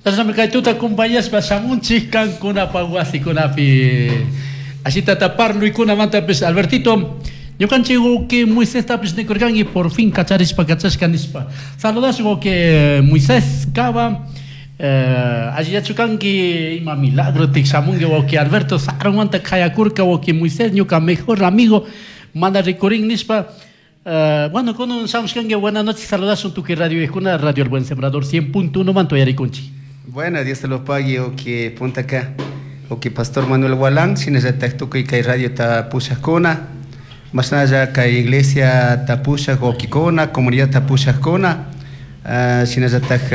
Chashnami kay tuta kumpayashpa shamunchik kankunapaq wasikunapi. Ashitata parluykunamantapish Albertito, ñukanchik wawqi Moisestapish nikurkanki por fin kacharishpa kachashka nishpa. Saludashun wawqi Moisés Cava. Allillachu kanki ima milagro tik shamunki wawqi Alberto sarunmanta qayakurka wawqi Moisés ñuka mejor amigo mana rikurin nishpa. Bueno, kunan shamushkanki buenas noches saludashun tukuy radio Radio El Buen Sembrador 100.1 manta uyarikunchik. Bueno, Dios te lo pague, wawqi puntaka, wawqi Pastor Manuel Gualán, shinallatak tukuy kay radiota pushakuna, mashnalla kay iglesia tapushak wawqikuna, comunidad tapushakuna, shinallatak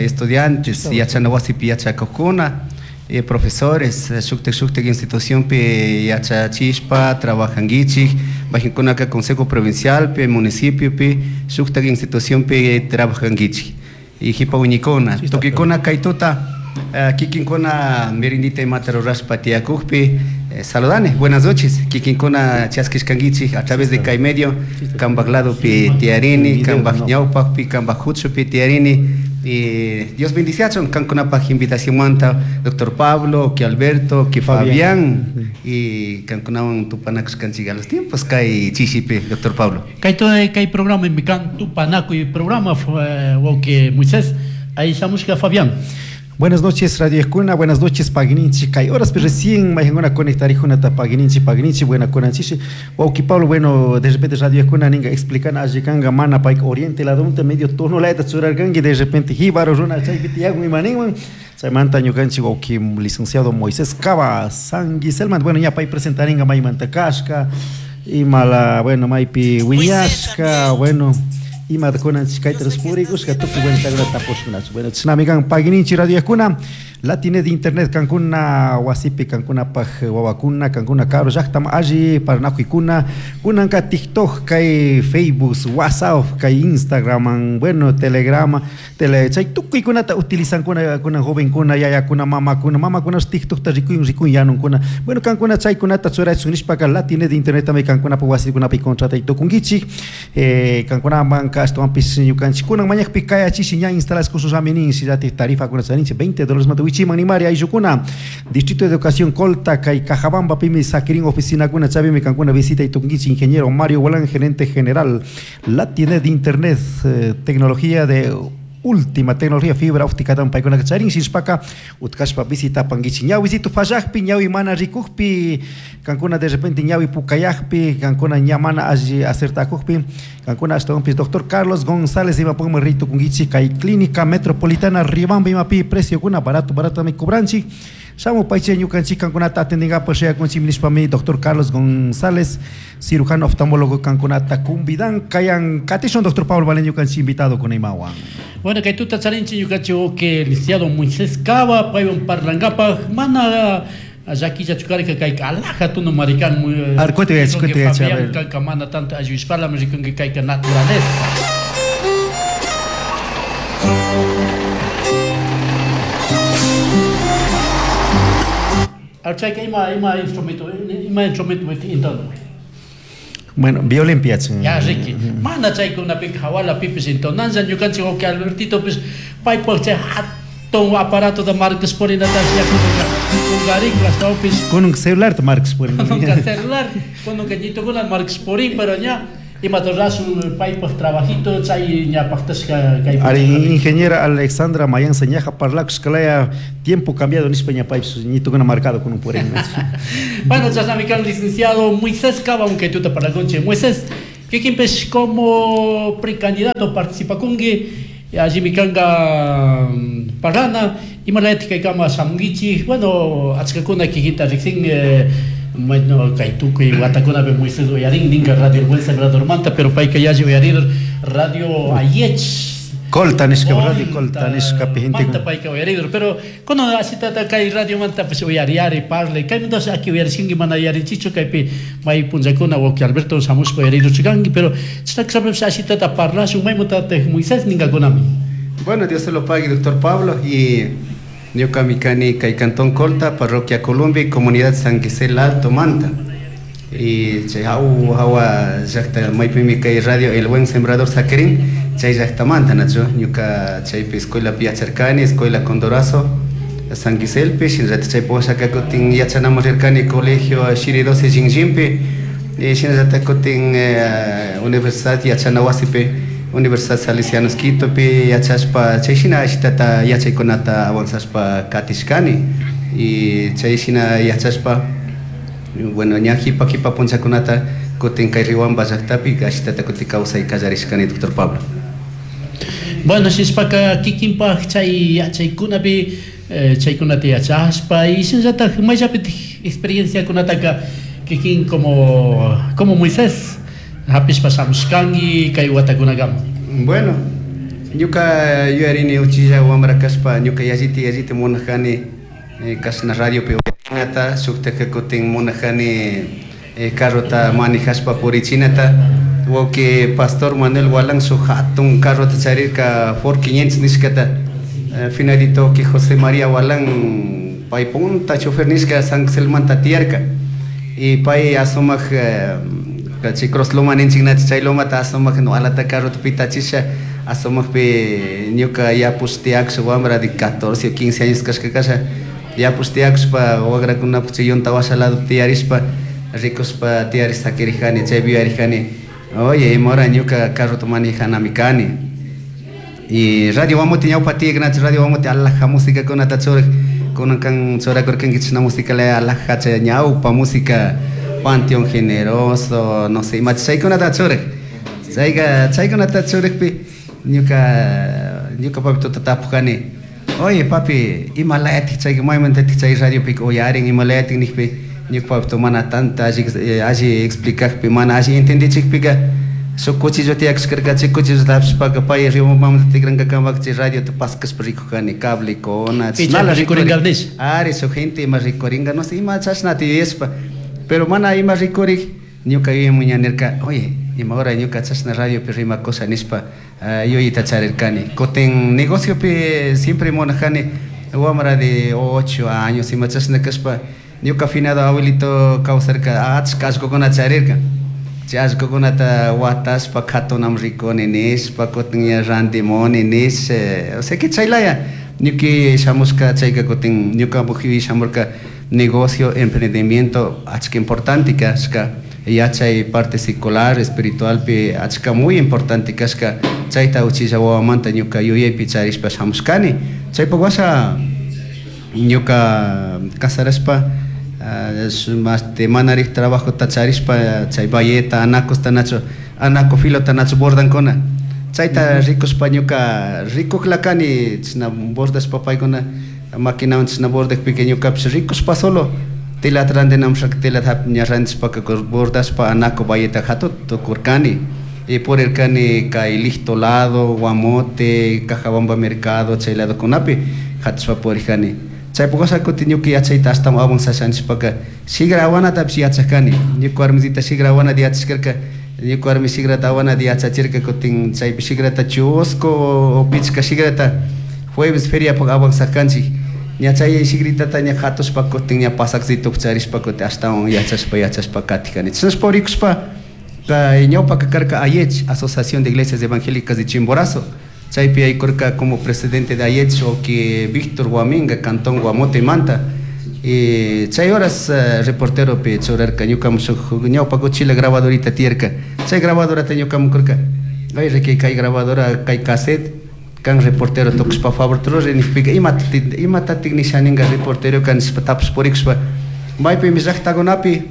estudiantes, yachana wasipi yachakukuna, profesores, shuktak shuktak institucionpi yachachishpa trabajankichik, mayqinkunaka consejo provincialpi, municipiopi, shuktak institucionpi trabajankichik. Y jipa wiñikuna, tukuykuna kay tuta kikinkuna merindita imata rurashpa tiyakukpi, saludani, buenas noches, kikinkuna chaskishkankichik a través de kay medio, kanpak ladopi tiyarini, kanpak ñawpakpi, kanpak huchupi tiyarini. Y Dios bendiciachun kankunapaj invitación manta doctor Pablo, que Alberto, que Fabián, y kankunawan tupanakushkanchik a los tiempos kay chishipi, doctor Pablo. Kay todo kay programa mi kan tupanakuy programa wawqi Moisés, ahí shamushka Fabián. Buenas noches, Radio Escuna, buenas noches, Paguininchi. Kay horas recién mayhanguna conectarijunata Paguininchi, Paguininchi, buena conanchishi. Wawqi Pablo, bueno, de repente Radio Escuna ninga explican allikanga mana payka oriente ladonta medio tono layta churarkanki, de repente jíbaro runa chaypi tiyakun imaninwan. Chaymanta ñukanchik wawqi licenciado Moisés Cava Sanguiselman, bueno, ña pay presentaringa maymanta kashka, imala, bueno, maypi wiñashka, bueno, ima kunanchik kayta purikushka tukuy buena tapushkunachu. Bueno, chishnami kan Paguininchi Radio Escuna, Latine de internet kankuna wasipi kankunapaj wawakuna kankuna karu llaqtam alli paranakuykuna kunanka TikTok kay Facebook, WhatsApp kay Instagram, bueno, Telegram, tele chay tukuykunata utilizankuna kunan jovenkuna yayakuna mamakuna mamakuna TikTokta rikuyun rikuyun yanunkuna. Bueno, kankuna chaykunata churaychun nishpaka Latine de internet también kankunapaj wasikunapi contratay tukunkichik. Kankunamanka ashtawanpis ñukanchik kunan mañakpi kayachishi ña instalaskushami nin shinallatik tarifakuna charinchik $20 manta wichiman nimari ayllukuna. Distrito de Educación Colta kay Cajabamba pimi sakirin oficinakuna chavimi kankuna visita y tukunkichik ingeniero Mario Gualán, gerente general Latine de internet, tecnología de última tecnología fibra óptica tan paykuna charin shishpaka utkashpa visita pankichik ñawisitu fallakpi ñawi mana rikukpi kankuna de repente ñawi pukayakpi kankuna ña mana alli acertakukpi kankuna ashtawanpis doctor Carlos González imapukman ritukunkichik kay clínica metropolitana Riobamba imapi precio kuna barato barato mi cobranchik shamu payche ñukanchik kankunata atendingapak shayakunchik nishpami doctor Carlos González cirujano oftalmólogo kankunata convidan kayan katishun doctor Pablo Valen ñukanchik invitado con imawan. Bueno, kay tuta charinchik ñukanchik que licenciado Moisés Cava paywan parlankapaj mana llaquilla chukarka kay alhaja tuno marikan muy Arcuete, escuete, Fabián kanka mana tanto ayushpala rikunki kayka naturaleza. Archayka ima ima instrumento ima instrumento intono. Bueno, violín piachun. Ya, Ricky. Mana chaykunapi hawala pipis intonanza ñukanchik wawqi Albertito pis paypaq chay hatun aparato da Marcos Porinata kungarik astawpis. Kununka celular ta Marcos Porin. Kununka celular, kununka ñitukuna Marcos Porin, pero ña imata rasun paypaq trabajito chay ña paqtashka kay. Ari ingeniera Alexandra Mayanza ñaja parlakushkalaya tiempo cambiado nishpa ña paypis ñitukuna marcado kunun purin. Bueno, chashnami kan licenciado Moisés Cava, aunque tuta parlakunchik. Moisés, kikinpish como precandidato participakunki, allimi kanka parlana, imalayatik kaykama shamunkichik, bueno, achkakuna kikinta riksin, bueno, kay tukuy watakunapi Moisés uyarin, ninka Radio El Buen Sembrador manta, pero payka yalli uyarir Radio Ayech. Colta nishka, Radio Colta nishka pi gente Manta payka uyarir, pero kuno ashitata kay radio manta pues uyariari, parle, kay entonces aquí uyarishinki mana yarinchichu, kaypi may punllakuna wawqi Alberto shamushpa uyariruchikanki, pero chashna ashitata parlashun maymuntataq Moisés ninkakunami. Bueno, Dios se lo pague, doctor Pablo, y ñuka kani kay Cantón Colta, Parroquia Colombia, Comunidad San Gisel Alto Manta. Y chay hawa llaqta maypimi kay radio El Buen Sembrador sakirin, Chay llaqtamanta, nachu? Ñuka chaypi escuelapi yacharkani, Escuela Condorazo San Giselpi, shinallatak chaypi washaka kutin yachanaman rirkani colegio Shiridosi Shinllinpi, shinallatak kutin universidad yachana wasipi, Universidad Salesianos Quitopi yachashpa, chay shina ashitata yachaykunata avanzashpa katishkani. Y chay shina yachashpa, bueno, ña jipa jipa punchakunata kutin kay Riobamba llaktapi ashitata kutin kawsay kallarishkani, doctor Pablo. Bueno, shishpaka kikinpaj chay yachaykunapi chaykunata yachashpa y shinallatak mayllapitik experienciakunataka kikin como Moisés hapishpa shamushkanki kay watakunakama? Bueno, ñuka yuyarini uchilla wamra kashpa ñuka yallita yallita munajani kashna radiopi uyarinata, shuktaka kutin munajani carrota manejashpa purichinata. Wawki pastor Manuel Gualán shuk hatun carrota charirka Ford 500 nishkata. Finalito wawki José María Gualán pay punta chofer nishka San Xelmanta tiyarka. Y pay asumak chay cross loma ninchik nachi chay lomata asumak no alata carrota pitachisha asumakpi ñuka yapush tiyakush wambra de 14 o 15 años kashka kasha yapush tiyakushpa wagrakunapak chay yunta washa lado tiyarishpa rikushpa tiyarish sakirijani chaypi yuyarijani, oye, imahora ñuka carrota manejanami kani. Y radio Guamote ñawpa tiyak nachi radio Guamote alhaja musicakunata churak, kunan kan churakurkanki chashna música laya alhaja chay ñawpa música Panteón Generoso, no sé, ima chaykunata churak. Chayka chaykunata churakpi ñuka papi tuta tapukani, oye papi, ima layatik chayka maymantatik chay radiopika uyarin, ima layatik nijpi ñuka papi mana tanta alli explicakpi, mana alli entendichikpika shuk cuchillo tiyakushkarka, chay cuchillota hapishpaka pay Riobambamanta tikrankakamaka chay radiota paskashpa rikukani, cablekuna, chashnala rikuringa. Ari, shuk gente ima rikuringa, no sé, ima chashnata yuyashpa, pero mana ima rikurik, ñuka yuyayman ña nirka, oye, ima hora ñuka chashna radiopi rimakusha nishpa yuyayta charirkani. Kutin negociopi siempre munajani, wamra de 8 años ima chashna kashpa, ñuka finado abuelito kawsarka, achka allkukuna charirka. Chay allkukunata watashpa katunam rikuni nishpa, kutin ña randimuni nish, o sea que chaylaya ñuki shamushka chayka kutin ñukapak yuyay shamurka negocio, emprendimiento achka importante kashka, yachay parte secular, espiritualpi achka muy importante kashka, chayta uchilla wawamanta ñuka yuyaypi charishpa shamushkani. Chaypak washa ñuka casarashpa manarik trabajota charishpa chay bayeta, anacosta nacho, anaco filota nacho bordankuna. Chayta rikushpa ñuka rikuklakani chashna bordashpa paykuna maquinawan chashna bordakpika ñukapish rikushpa solo telata randinamushaka telata ña randishpaka bordashpa anaco bayeta hatuta tukurkani. Y purirkani kay Licto lado, Guamote, Cajabamba mercado, chay ladokunapi hatushpa purirkani. Chaypak washa kutin ñuka yachayta ashtawan avanzasha nishpaka shigra awanatapish yachakani. Ñuka warmisita shigra awanata yachashkarka, ñuka warmi shigrata awanata yachachirka, kutin chaypi shigrata chusku o pichka shigrata jueves feriapak avanzarkanchik. Ña chay shigritata ña hatushpa kutin ña pasakcito charishpa kutin ashtawan yachashpa yachashpa katikani. Chashnashpa purikushpa kay ñawpaka karka AIECH, Asociación de Iglesias Evangélicas de Chimborazo. Chaypi aykurka como presidente de AIECH que Víctor Guaminga, Cantón Guamote Manta. Y chay horas reportero pi churarka ñukamu shuk ñawpa uchila grabadorita tiyarka. Chay grabadorata ñukamu kurka. Ay, riki kay grabadora, kay cassette, kan reportero tukushpa favor ruri nijpika imatatik nishaninga reportero kan nishpa tapush purikushpa maypimi llaktakunapi,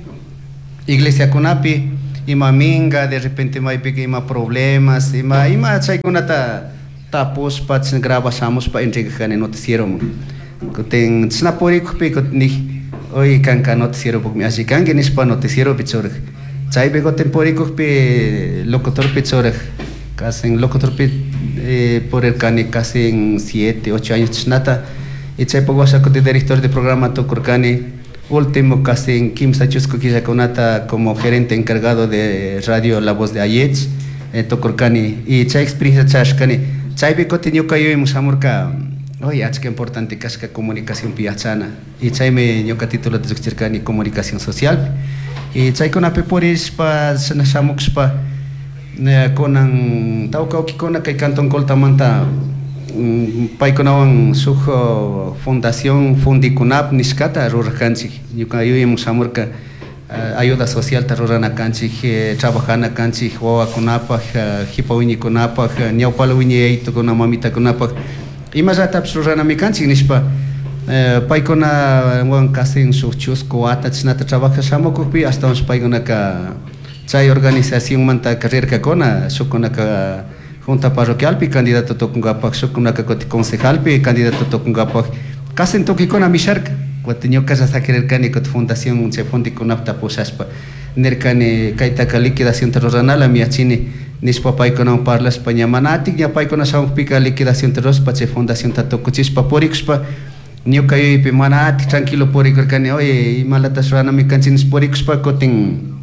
iglesiakunapi, ima minga, de repente maypika ima problemas, ima chaykunata tapushpa, chashna grabashamushpa entregakani noticieroman. Kutin chashna purikukpi kutin nij, oy kanka noticieropukmi alli kanki nishpa noticieropi churak. Chaypi kutin purikukpi locutorpi churak. Casi en locutorpi purirkani casi en 7, 8 años chashnata. Y chaypak washa kutin director de programa tukurkani. Último casi en kimsa chusku killakunata como gerente encargado de radio La Voz de AIECH, tukurkani. Y chay experiencia charishkani. Chaypi kutin ñuka yuyayman shamurka, oye, achka importante kashka comunicación yachana. Y chaymi ñuka titulota llukchirkani comunicación social. Y chaykunapi purishpa, chashna shamukushpa, Kunan tawka wawkikuna kay Cantón Coltamanta paykunawan shuk fundación Fundikunap nishkata rurarkanchik. Ñuka yuyayman shamurka ayuda socialta rurana kanchik, trabajana kanchik wawakunapak, jipa wiñaykunapak, ñawpala wiñay yayitukuna mamitakunapak imallatapish ruranami kanchik nishpa paykunawan casi shuk chusku wata chishnata trabaja shamukukpi ashtawanshi paykunaka chay organizacionmantaka rirkakuna, shukkunaka junta parroquialpi candidato tukunkapak, shukkunaka kutin concejalpi candidato tukunkapak, casi tukuykuna misharka. Kutin ñukalla sakirirkani kutin fundación chay Fundikunapta pushashpa nirkani kaytaka liquidacionta ruranalami yachini nishpa paykunawan parlashpa ña mana atik ña paykuna shamukpika liquidacionta rurashpa chay fundacionta tukuchishpa purikushpa ñuka yuyaypi mana atik tranquilo purikurkani, oye imalatash ruranami kanchik nishpa purikushpa kutin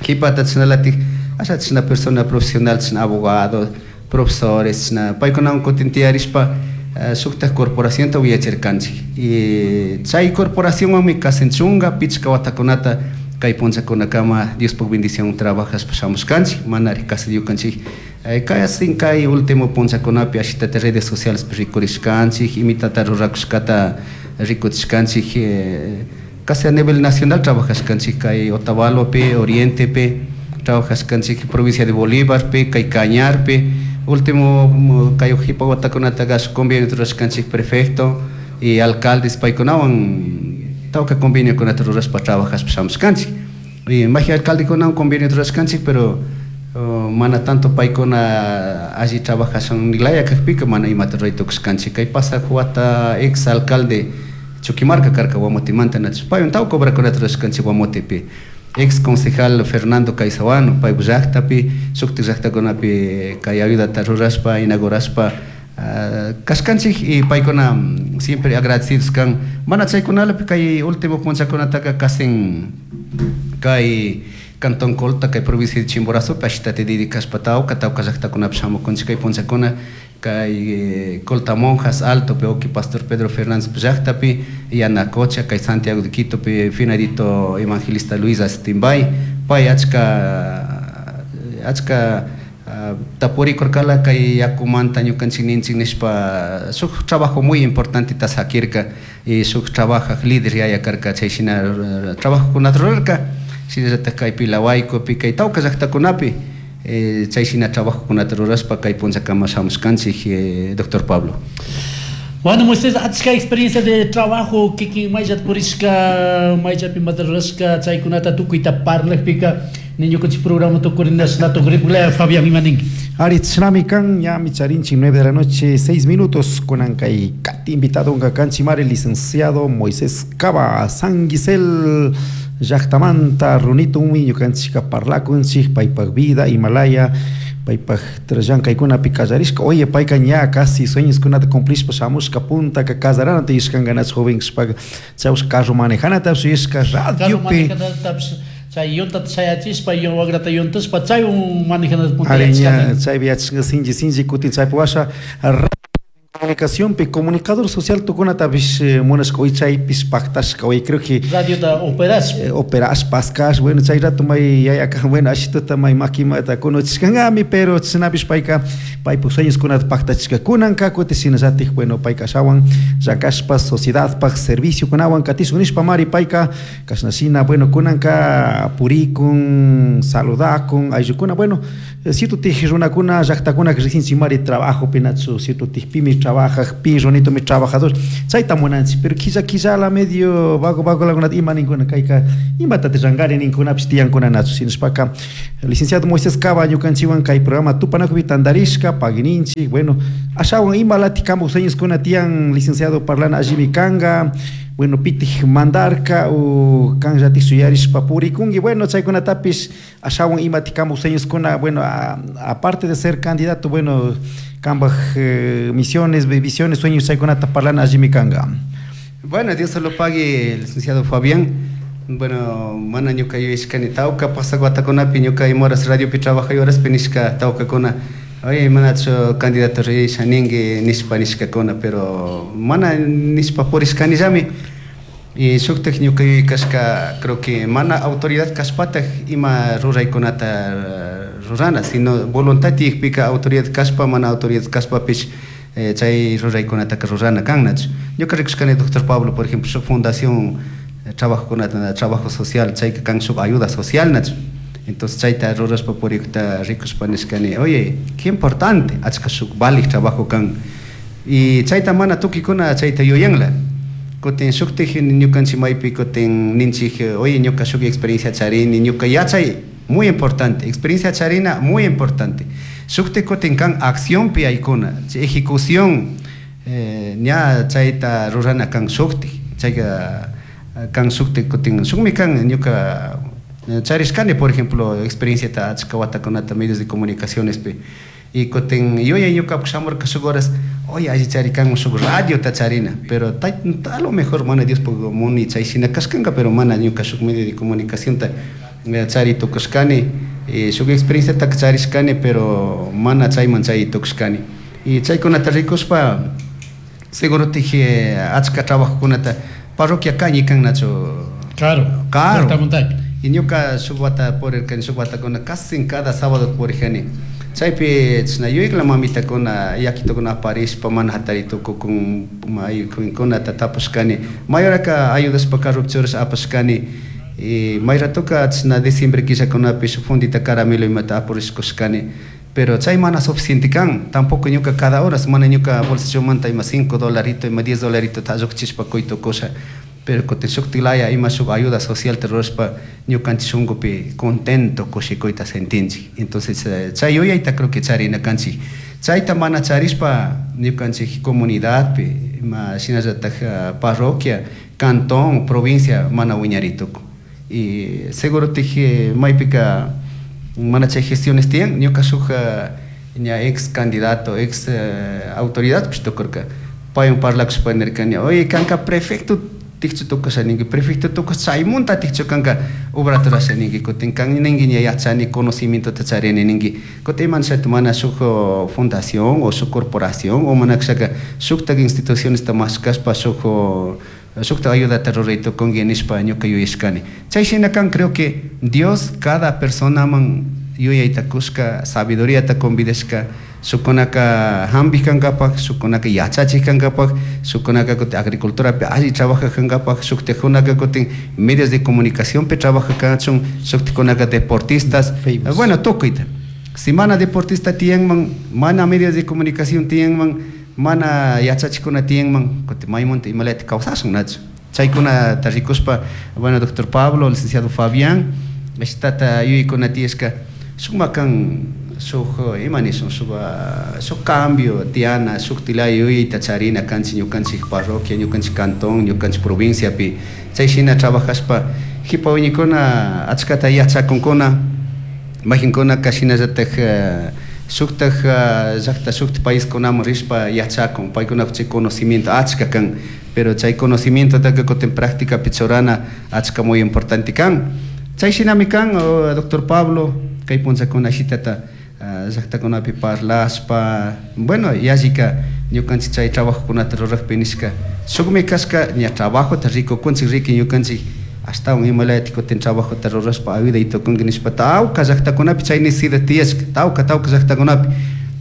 kipata chashnalatik asha chashna persona profesional chashna abogado, profesores chashna paykunawan kutin tiyarishpa shuktak corporacionta wiñachirkanchik. Y chay corporacionwanmi casi chunka pichka watakunata kay punllakunakama Diospuk bendición trabajashpa shamushkanchik, manari casi ñukanchik casi kay último punllakunapi ashitata redes sociales rikurishkanchik, imitata rurakushkata rikuchishkanchik, casi a nivel nacional trabajashkanchik kay Otavalopi, Orientepi, trabajashkanchik provincia de Bolívarpi, kay Cañarpi, último kay jipa watakunataka shuk convenio rurashkanchik prefecto y alcaldes paykunawan tawka conveniokunata rurashpa trabajashpa shamushkanchik. Y maji alcaldekunawan convenio rurashkanchik, pero mana tanto paykuna alli trabajashun laya kakpika mana imata ruray tukushkanchik. Kay pasak wata ex alcalde Chuquimarca karka Guamotemanta nachu paywan tawka obrakunata rurashkanchik Guamotepi. Ex concejal Fernando Caizahuano paypak llaktapi shuktik llaktakunapi kay ayudata rurashpa inaugurashpa kashkanchik y paykuna siempre agradecidos kan. Mana chaykunalapi kay último punllakunataka casi kay Cantón Colta kay provincia de Chimborazopi ashitata dedicashpa tawka tawka llaktakunapi shamukunchik kay punllakuna kay Colta Monjas Altopi wawki Pastor Pedro Fernández llaktapi, Yanacocha kay Santiago de Quitopi finadito evangelista Luis Astimbay pay achka achka tapurikurkala kay yakumanta ñukanchik ninchik nishpa shuk trabajo muy importante ta sakirka y shuk trabajaj líder yaya karka chay shina trabajokunata rurarka shinallatak kay Pilawaykupi kay tawka llaktakunapi chay shina trabajokunata rurashpa kay punllakama shamushkanchik, doctor Pablo. Bueno, Moisés, achka experiencia de trabajo kikin mayllata purishka, mayllapi imata rurashka, chaykunata tukuyta parlakpika ñukanchik programa tukurinashna tukuripukla Fabián ima ninki. Ari chinami kan ñami charinchik 9 de la noche 6 minutos kunan kay kati invitado unka kanchimari licenciado Moisés Caba Sanguisel llaktamanta runito unmi ñukanchika parlakunchik paypak vida Himalaya paypak llankaykunapi kallarishka. Oye, payka ña casi sueñoskunata cumplishpa shamushka puntaka casaranata yuyashkanganach joven kashpaka chawsh carro manejanatapish yuyashka radiopi chay yuntata shayachishpa wakrata yuntashpa chaywan manejanata punta Ari ña yachashkani. chaypi yachashka sinchi sinchi kutin chaypi washa comunicacionpi comunicador social tukunatapish munashka hoy chaypish paktashka hoy creo que radiota operash operash paskash bueno chay rato may yayaka bueno ashituta may makimata kunuchishkankami pero chashnapish payka paypuk sueñoskunata paktachishka kunanka kutin shinallatik bueno payka ashawan llankashpa sociedadpak serviciokunawan katishun nishpa mari payka kashna shina bueno kunanka purikun saludakun ayllukuna bueno cierto tij runakuna llaktakuna riqsinchik mari trabajopi nachu cierto tijpimi trabajaj pi runito mi trabajador chayta munanchik pero quilla quillala medio vago vago lagunata ima ninkuna kayka imatata llankari ninkunapish tiyankuna nachu shinashpaka licenciado Moisés Caba ñukanchikwan kay programa tupanakupi tantarishka paguininchik bueno ashawan imalatik kanpak sueñoskuna tiyan licenciado parlana allimi kanka bueno pitij mandarka o kanllatik shuyarishpa purikunki bueno chaykunatapish ashawan imatik kanpak sueñoskuna bueno aparte de ser candidato bueno kanpak misiones, visiones, sueños chaykunata parlana allimi kanka. Bueno, Dios se lo pague, licenciado Fabián. Bueno, mana ñuka yuyashkani tawka pasak watakunapi ñuka imahoras radiopi trabajay horaspi nishka tawkakuna oye manachu candidato risha ninki nishpa nishkakuna pero mana nishpa purishkanillami. Y shuktak ñuka yuyaykashka creo que mana autoridad kashpatak ima ruraykunata rurana, sino voluntad tiyakpika autoridad kashpa mana autoridad kashpapish chay ruraykunataka rurana kan, nachu? Ñuka rikushkani doctor Pablo, por ejemplo, shuk fundación trabajokunata, trabajo social, chayka kan shuk ayuda social, nachu? Entonces chayta rurashpa purikta rikushpa nishkani, oye, qué importante, achka shuk valik trabajo kan. Y chayta mana tukikuna chayta yuyanla. Kutin shuktik ñukanchik maypi kutin ninchik, oye, ñuka shuk experiencia charini, ñuka yachay muy importante, experiencia charina muy importante. Shuktik kutin kan accionpi aykuna, ejecución, ña chayta rurana kan shuktik, chayka kan shuktik kutin shukmi kan ñuka charishkani, por ejemplo, experienciata achka watakunata medios de comunicacionespi. Y kutin yuyay ñukapak shamurka shuk horas, oye, alli chari kan shuk radiota charina, pero a lo mejor mana Diospuk muni chay shina kashkanka, pero mana ñuka shuk medio de comunicacionta chari tukushkani, shuk experienciataka charishkani, pero mana chayman chay tukushkani. Y chaykunata rikushpa, seguro tije achka trabajokunata parroquia kañi kan, nachu? Claro, Claro. Llaqta montaña. Y ñuka shuk wata purirkani, shuk watakuna casi cada sábado purijani. Chaypi chashna yuyakla mamitakuna yakitukuna aparishpa mana hatari tukukun maykunata tapushkani. Mayoraka ayudashpa carropi churashpa apashkani. Y may ratoka chashna diciembre killakunapi shuk fundita caramelo imata apurishkushkani. Pero chay mana suficiente kan, tampoco ñuka cada horas mana ñuka bolsillomanta ima 5 dolarito, ima 10 dolarito ta lluqchishpa quy tukusha. Pero kutin shuktik laya ima shuk ayuda social ta rurashpa ñukanchik shunkupi contento kushikuyta sentinchik. Entonces, chay yuyayta creo que charina kanchik. Chayta mana charishpa ñukanchik comunidadpi, ima shinallatak parroquia, cantón, provincia mana wiñaritukun. Y seguro tije maypika mana chay gestiones tiyan, ñuka shuk ña ex candidato, ex autoridad pish tukurka. Paywan parlakushpa nirkani, oye, kanka prefecto tikchu tukusha ninki, prefecto tukush chaymunta tikchu kanka obrata rurasha ninki, kutin kan ninki ña yachani conocimientota charini ninki, kutin iman shayta mana shuk fundación o shuk corporación o mana kashaka shuktak institucionesta mashkashpa shuk shukta ayudata ruray tukunki nishpa ñuka yuyashkani. Chay shina kan creo que Dios cada personaman yuyayta kushka, sabiduriata convidashka, shukunaka hampi kankapak, shukunaka yachachik kankapak, shukunaka kutin agriculturapi alli trabajak kankapak, shuktikunaka kutin medios de comunicacionpi trabajak kachun, shuktikunaka deportistas. Famous. Bueno, tukuyta. Si mana deportista tiyanman, mana medios de comunicación tiyanman, mana yachachikuna tiyanman, kutin maymunta imalata kawsashun, nachu. Chaykunata rikushpa, bueno, doctor Pablo, licenciado Fabián, ashtata yuyaykuna tiyashka, sukma kan shuk, ima nishun, shuk, shuk cambio tiyana, shuk tilaya yuyayta charina kanchik ñukanchik parroquia, ñukanchik cantón, ñukanchik provinciapi. Chay shina trabajashpa, jipa wiñikuna achkata yachakunkuna, majinkuna shinallatak shuktak llaqta, shuktak paiskunaman rishpa yachakun, paykunapak chay conocimiento achka kan, pero chay conocimientotaka kutin prácticapi churana achka muy importante kan. Chay shinami kan, oh, doctor Pablo, kay punllakuna shitata, llaqtakunapi parlashpa, bueno, yallika ñukanchik chay trabajokunata rurakpi nishka, shukmi kashka ña trabajota rikukunchik, riki ñukanchik ashtawan imalayati kutin trabajota rurashpa ayuday tukunki nishpa, tawka llaqtakunapi chay necesidad tiyashka, tawka, tawka llaqtakunapi.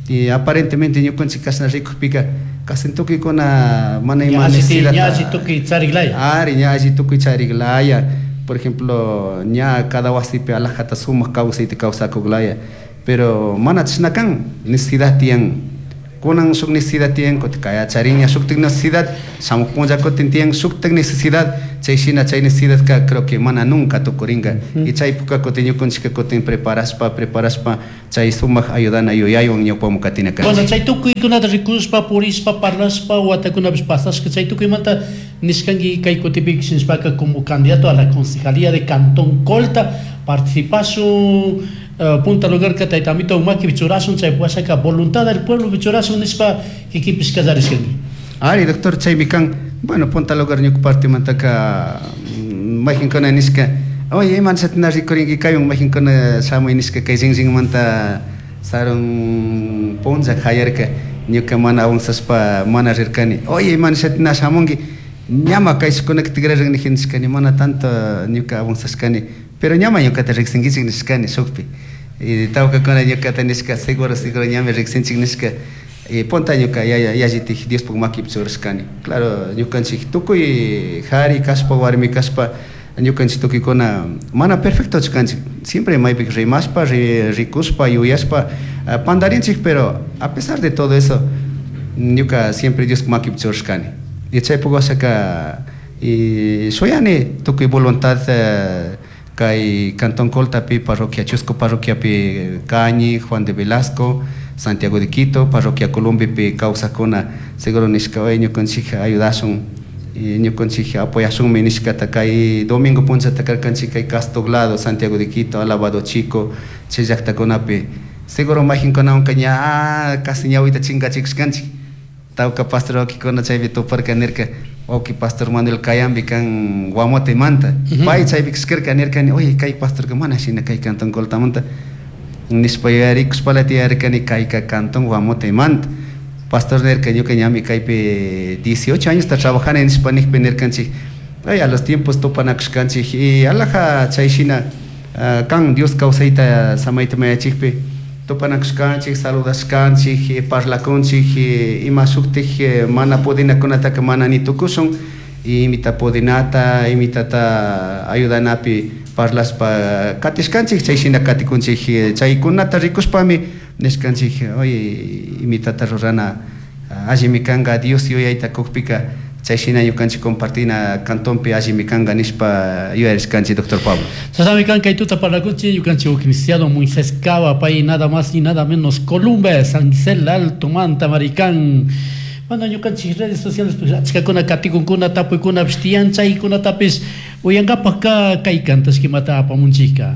Y aparentemente ñukanchik kashna rikukpika, casi tukuykuna mana ima Ña alli necesidad ña alli tukuy chariklaya. Ari, ña alli tukuy chariklaya. Por ejemplo, ña cada wasipi alajata sumak kawsayta kawsakuklaya. Pero mana chashna kan, necesidad tiyan. Kunan shuk necesidad tiyan, kutin kaya charin ña shuktik necesidad, shamuk punlla kutin tiyan shuktik necesidad, chay shina chay necesidad ka creo que mana nunca tukuringa. Y chay puka kutin ñukunchika kutin preparashpa, preparashpa, chay sumak ayudana yuyaywan ñawpamu katina kanchik. Bueno, chay tukuykunata rikushpa, purishpa, parlashpa, watakunapish pasashka, chay tukuymanta nishkanki kay kutipi shinashpaka como candidato a la concejalía de Cantón Colta, participashun, punta lugar ka tayta amito umaki bichurasun, chay puasaka voluntad del pueblo bichurasun nishpa kikinpish kallarishkanki. Ari, doctor, chaymi kan, bueno, punta lugar ñuka partimantaka, mayqinkuna nishka, oye, iman shatina rikurinki kaywan, mayqinkuna shamuy nishka kay rinrinmanta sarun punlla hayarka, ñuka mana avanzashpa mana rirkani, oye, iman shatina shamunki, ñama kayshkunaka tikrarin niji nishkani, mana tanto ñuka avanzashkani, pero ñama ñukata riksinkichik nishkani shukpi. Y tawkakuna ñukata nishka seguro seguro ñami riksinchik nishka. Y punta ñuka yallitik Diospuk makipi churashkani. Claro, ñukanchik tukuy jari kashpa warmi kashpa ñukanchik tukuykuna mana perfectochu kanchik. Siempre maypi rimashpa, rikushpa, yuyashpa pandarinchik, pero a pesar de todo eso ñuka siempre Diospuk makipi churashkani. Y chaypuk washaka y shuyani tukuy voluntad kay Cantón Coltapi, parroquia Chusco, parroquiapi Cañi, Juan de Velasco, Santiago de Quito, parroquia Columbipi kawsakuna seguro nishka oy ñukanchik ayudashun ñukanchik apoyashunmi nishkata kay domingo punchata karkanchik kay Castoglado, Santiago de Quito, Alabado Chico, chay llaktakunapi seguro mayqinkunawanka ña casi ñawita chinkachikushkanchik. Tawka pastor wawkikuna chaypi tuparka nirka wawki pastor Manuel Cayambi kan Guamotemanta. Pay chaypi kashkarka nirkani, oye kay pastorka mana shina kay Cantón Coltamanta nishpa yuyarikushpala tiyarkani kayka Cantón Guamotemanta. Pastor nirka ñuka ñami kaypi 18 años trabajani nishpa nijpi nirkanchik, ay a los tiempos tupanakushkanchik y alaja chay shina kan Dios kawsayta samayta mayachikpi tupanakushkanchik, saludashkanchik, parlakunchik, ima shuktik mana pudinakunataka mana ni tukushun, imita pudinata, imitata ayudanapi parlashpa katishkanchik, chay shina katikunchik, chaykunata rikushpami nishkanchik, oye, imitata rurana allimi kanka Dios yuyayta kukpika chay shina ñukanchik compartina cantonpi allimi kanka nishpa yuyarishkanchik, doctor Pablo. Chashnami kan kay tuta parlakunchik ñukanchik licenciado Moisés Cava, pay nada más ni nada menos Columbe, San Gisel Alto Manta Maricán. Bueno, ñukanchik redes sociales pues achkakuna katikunkuna tapuykunapish tiyan chaykunatapish uyankapakka kay kantashkimata apamunchikka.